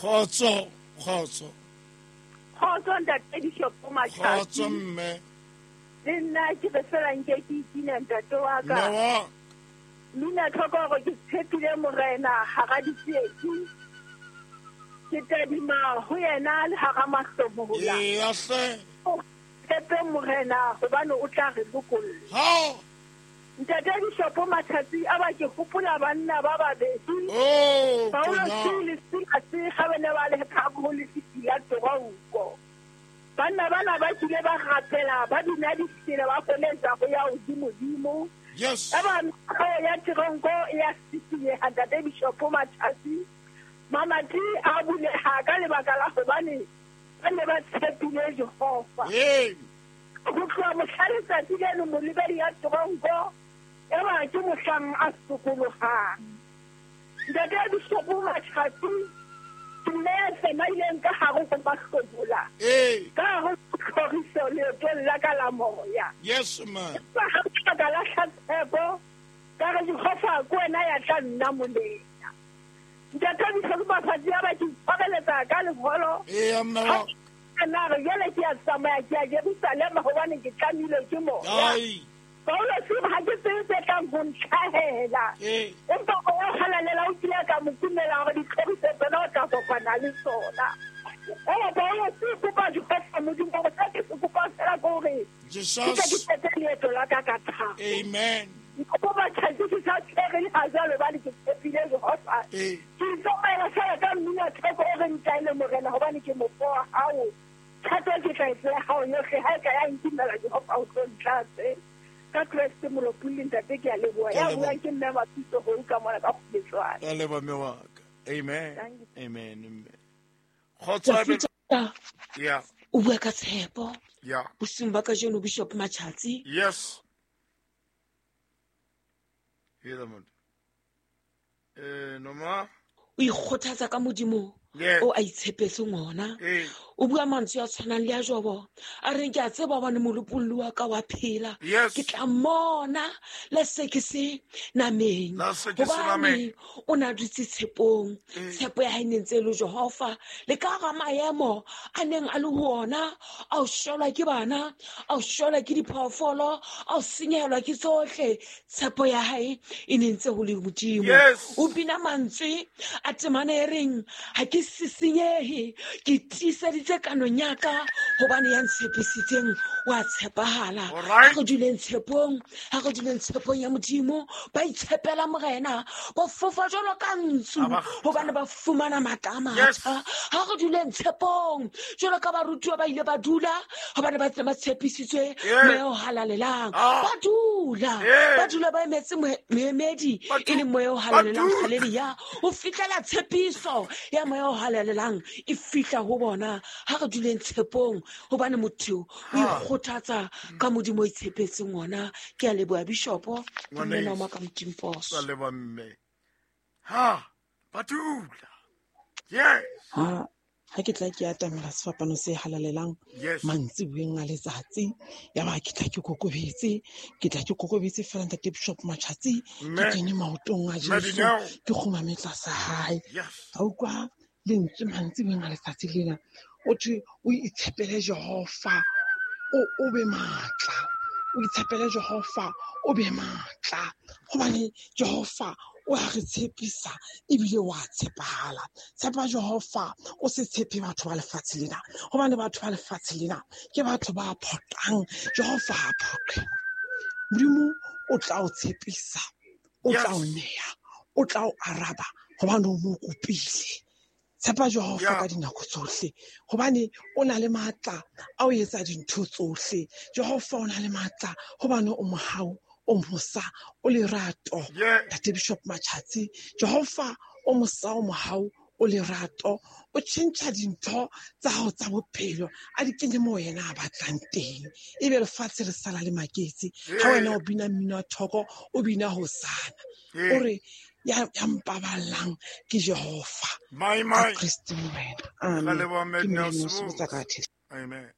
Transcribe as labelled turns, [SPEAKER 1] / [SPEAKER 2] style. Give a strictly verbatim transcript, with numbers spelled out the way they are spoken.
[SPEAKER 1] Khotso, khotso.
[SPEAKER 2] Khotso ntate Bishop Matjhatsi.
[SPEAKER 1] Khotso mme.
[SPEAKER 2] Le nna ke re fela nke ke ikina ntate wa ka.
[SPEAKER 1] Mme wa.
[SPEAKER 2] Mina tlhoko hore ke tshepile morena hara ditsietsi. Ke tadima ho yena le hara mahlomola.
[SPEAKER 1] Eya hle.
[SPEAKER 2] Tshepe morena hobane o tla re lokolla.
[SPEAKER 1] Ha.
[SPEAKER 2] Ntate Bishop Matjhatsi a ba ke hopola banna ba babedi.
[SPEAKER 1] Oh,
[SPEAKER 2] Paulo le Silase ha ba ne ba le ka ho lefifi la teronko. Banna bana ba kile ba rapela ba bina ditsela ba koletsa go ya hodimodimo.
[SPEAKER 1] Yes.
[SPEAKER 2] Eba ya teronko ya sisiye ha Ntate Bishop Matjhatsi. Mamati a buleha ka lebaka la hobane ba ne ba tshepile Jehova.
[SPEAKER 1] Ee.
[SPEAKER 2] Go tloha mohla letsatsi leno molebedi ya teronko eba ke mohlang a sokolohang. Ntate Bishop Matjhatsi ke nna ya tsamaileng ka hare ho mahlomola.
[SPEAKER 1] Ee.
[SPEAKER 2] Ka hare ho tlhoriso leetong la ka la moya.
[SPEAKER 1] Yes ma.
[SPEAKER 2] Empa ha ke ka lahla tshepo, ka re Jehova ke wena ya tla nna molena. Ntate Bishop Matjhatsi a ba ke tshwareletsa ka leholo.
[SPEAKER 1] Ee mme wa.
[SPEAKER 2] Nna re jwale ke a tsamaya ke ya Jerusalema hobane ke tlamilwe ke moya.
[SPEAKER 1] Ai.
[SPEAKER 2] Paulo ha ke tsebe tse tlang ho ntlhahela.
[SPEAKER 1] Ee.
[SPEAKER 2] Empa o halalela o kile ka mo kumela hore ditlhoriso tsena o tla kopana le tsona. Ela Paulo se kopa Jehova Modimo hore se ke se kopa fela ke hore
[SPEAKER 1] Jesus.
[SPEAKER 2] ke tle ke qete leeto la ka ka thabo.
[SPEAKER 1] Amen.
[SPEAKER 2] Kopa Matjhatsi ke sa tshwere le ha jwalo hobane ke tshepile Jehova.
[SPEAKER 1] Ee.
[SPEAKER 2] Ke tsamaela fela ka mmino theko o re ntaele morena hobane ke mofo wa hao. Thato ke tla e tseya hao yohle ha e ka ya ntimela Jehova o tlo ntlatse. Ka Kreste molopolli ntate ke a leboha.
[SPEAKER 1] Ke a
[SPEAKER 2] Ya
[SPEAKER 1] leboha.
[SPEAKER 2] buang ke mme Mapitso ho ka mona ka kgobetswana.
[SPEAKER 1] Ke a leboha mme wa ka. Amen.
[SPEAKER 2] Thank you.
[SPEAKER 1] Amen. Amen. Kgotso a be-
[SPEAKER 3] Tafita,
[SPEAKER 1] Yeah.
[SPEAKER 3] o bua ka tshepo.
[SPEAKER 1] Yeah.
[SPEAKER 3] Bosiung ba kajeno Bishop Matjhatsi.
[SPEAKER 1] Yes. Hear the motho. Eh, Noma.
[SPEAKER 3] O ikgothatsa ka Modimo
[SPEAKER 1] Yeah.
[SPEAKER 3] o a itshepetseng ona.
[SPEAKER 1] Ee.
[SPEAKER 3] O bua mantswe a tshwanang le a Jobo. A reng ke a tseba hobane molopolli wa ka wa phela.
[SPEAKER 1] Yes.
[SPEAKER 3] Ke tla mmona le se ke se nameng.
[SPEAKER 1] La se ke se
[SPEAKER 3] Hobane
[SPEAKER 1] nameng.
[SPEAKER 3] o na dutse tshepong.
[SPEAKER 1] Ee.
[SPEAKER 3] Tshepo ya hae ne ntse e le Jehova. Le ka hara maemo a neng a le ho ona, a o shwelwa ke bana, a o shwelwa ke diphoofolo, a o senyehelwa ke tsohle. Tshepo ya hae e ne ntse ho le Modimo.
[SPEAKER 1] Yes.
[SPEAKER 3] O bina mantswe a temana e reng, ha ke sisinyehe, ke tiiseditse kanong ya ka hobane ya ntshepisitseng wa tshepahala.
[SPEAKER 1] All right.
[SPEAKER 3] Ha re duleng tshepong, ha re duleng tshepong ya Modimo, ba itshepela morena, ba fofa jwalo ka ntsu,
[SPEAKER 1] Ha ba
[SPEAKER 3] hobane ba fumana matla a
[SPEAKER 1] Yes.
[SPEAKER 3] matjha. Ha re duleng tshepong, jwalo ka barutuwa ba ile ba dula, hobane ba tse ba tshepisitswe
[SPEAKER 1] Yeah.
[SPEAKER 3] moya o halalelang.
[SPEAKER 1] Ah.
[SPEAKER 3] Ba dula,
[SPEAKER 1] Yeah.
[SPEAKER 3] ba dula ba emetse moe-, moemedi,
[SPEAKER 1] Ba
[SPEAKER 3] e leng moya o
[SPEAKER 1] ba
[SPEAKER 3] halalelang.
[SPEAKER 1] dula.
[SPEAKER 3] Haleluya. Ho fihlela tshepiso ya moya o halalelang e fihla ho bona. Ha re duleng tshepong, hobane motho o
[SPEAKER 1] Ha.
[SPEAKER 3] ikgothatsa ka Modimo o itshepetseng ona. Ke a leboha Bishopo, ke
[SPEAKER 1] Ngwaneso.
[SPEAKER 3] mme Noma ka Modimposo.
[SPEAKER 1] Ka leboha mme. Ha, ba dula. Yes.
[SPEAKER 4] Ha, ha ke tla ke atamela sefapano se halalelang
[SPEAKER 1] Yes.
[SPEAKER 4] mantsiboeng a letsatsi, ya ba ke tla ke kokobetse, ke tla ke kokobetse fela ntate Bishop Matjhatsi, ke
[SPEAKER 1] Mme.
[SPEAKER 4] kene maotong a
[SPEAKER 1] Mme
[SPEAKER 4] Jesu,
[SPEAKER 1] Dineo.
[SPEAKER 4] ke kgumame tlasa hae.
[SPEAKER 1] Yes.
[SPEAKER 4] Ka utlwa lentswe mantsiboeng a letsatsi lena, o thwe o itshepele Jehova, o, o be matla. O itshepele Jehova, o be matla. Hobane Jehova o a re tshepisa ebile wa tshepahala. Tshepa Jehova, o se tshepe batho ba lefatshe lena. Hobane batho ba lefatshe lena ke batho ba phoqang. Jehova ha phoqe. Modimo o tla o tshepisa, o tla o
[SPEAKER 1] Yes.
[SPEAKER 4] neya, o tla o araba hobane o mo kopile. Tshepa Jehova
[SPEAKER 1] Yeah.
[SPEAKER 4] ka dinako tsohle, hobane o na le matla a ho etsa dintho tsohle. Jehova o na le matla hobane o mohau, o mosa, o lerato.
[SPEAKER 1] Yeah.
[SPEAKER 4] Ntate Bishop Matjhatsi, Jehova o mosa, o mohau, o lerato, o tjhentjha dintho tsa hao tsa bophelo, a di kenye moo yena a batlang teng. Ebe lefatshe re sala le maketse. Ha wena o bina mmino wa thoko, o bina hosana.
[SPEAKER 1] Yeah.
[SPEAKER 4] O re, ya, ya mpaballang ke Jehova.
[SPEAKER 1] My,
[SPEAKER 4] Ka
[SPEAKER 1] my.
[SPEAKER 4] Kreste Morena.
[SPEAKER 1] Ka
[SPEAKER 4] Amen.
[SPEAKER 1] leboha, Mme
[SPEAKER 4] Ke
[SPEAKER 1] Dineo
[SPEAKER 4] Mme Dineo
[SPEAKER 1] Sebotse.
[SPEAKER 4] Sebotse ka Thesele.
[SPEAKER 1] Amen.